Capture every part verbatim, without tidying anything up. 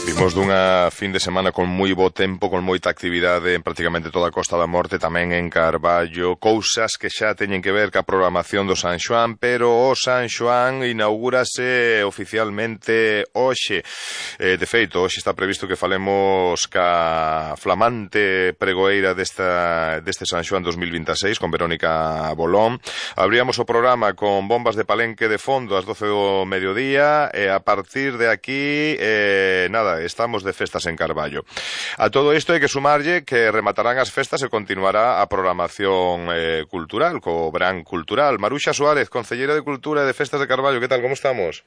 Vimos dunha fin de semana con moi bo tempo, con moita actividade en prácticamente toda a Costa da Morte, tamén en Carballo, cousas que xa teñen que ver ca programación do San Xoán, pero o San Xoán inaugúrase oficialmente hoxe. Eh, de feito, hoxe está previsto que falemos ca flamante pregoeira desta, deste San Xoán dos mil vintaseis, con Verónica Bolón. Abríamos o programa con bombas de Palenque de fondo ás doce do mediodía, e a partir de aquí, eh, nada, estamos de festas en Carballo. A todo isto hai que sumarlle que rematarán as festas e continuará a programación eh, cultural, co verán cultural. Maruxa Suárez, concelleira de Cultura e de Festas de Carballo, que tal, como estamos?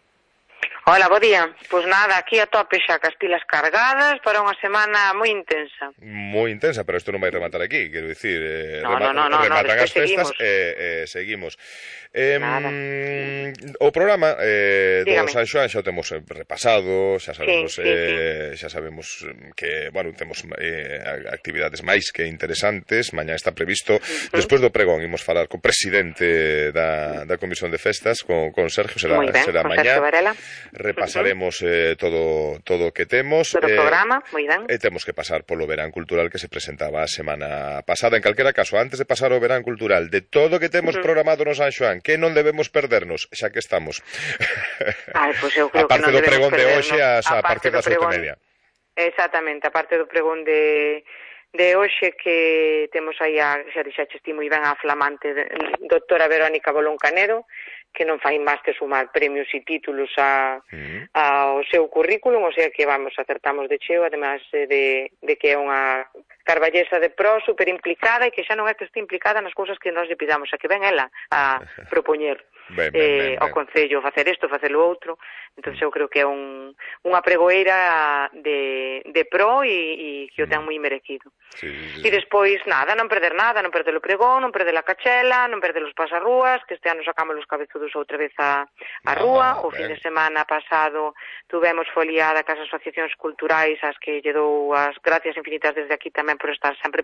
Hola, bo día. Pois nada, aquí a tope xa cas pilas cargadas para unha semana moi intensa. Moi intensa, pero isto non vai rematar aquí, quero dicir, eh, no, rema no, no, no, rematan no, as festas e eh, eh, seguimos. Eh, o programa eh, do San Xoán xa o temos repasado, xa sabemos sí, sí, eh, sí. xa sabemos que, bueno, temos eh, actividades máis que interesantes. Mañá está previsto, uh-huh. despois do pregón, imos falar co presidente da, da Comisión de Festas, con, con Sergio, será, ben, será con mañá. Sergio Varela. Repasaremos eh, todo todo o que temos. Todo o eh, programa, moi ben. E temos que pasar polo verán cultural que se presentaba a semana pasada. En calquera caso, antes de pasar ao verán cultural, de todo o que temos uh-huh. programado no San Xoán, que non debemos perdernos, xa que estamos. Ai, pois eu creo a parte que non do pregón de perdernos. hoxe a, a partir das oito e media. Exactamente, a parte do pregón de de hoxe, que temos aí a, xa dixaches ti moi ben, a flamante de, doutora Verónica Bolón Canedo, que non fai máis que sumar premios e títulos a, uh-huh. ao seu currículum, o sea que vamos, acertamos de cheo, además de, de que é unha carballesa de pro, super implicada, e que xa non é que este implicada nas cousas que nós lle pidamos, a que ven ela a propoñer ben, ben, eh, ben, ben. ao Concello facer isto, facer o outro. Entón eu creo que é un, unha pregoeira de, de pro e, e que o ten moi merecido. Sí, sí, sí. E despois, nada, non perder nada, non perder o pregón, non perder a cachela, non perder os pasarrúas, que este ano sacamos os cabezudos outra vez a, a rúa. Ah, o ben. Fin de semana pasado tuvemos foliada cas asociacións culturais, as que lle dou as gracias infinitas desde aquí tamén por estar sempre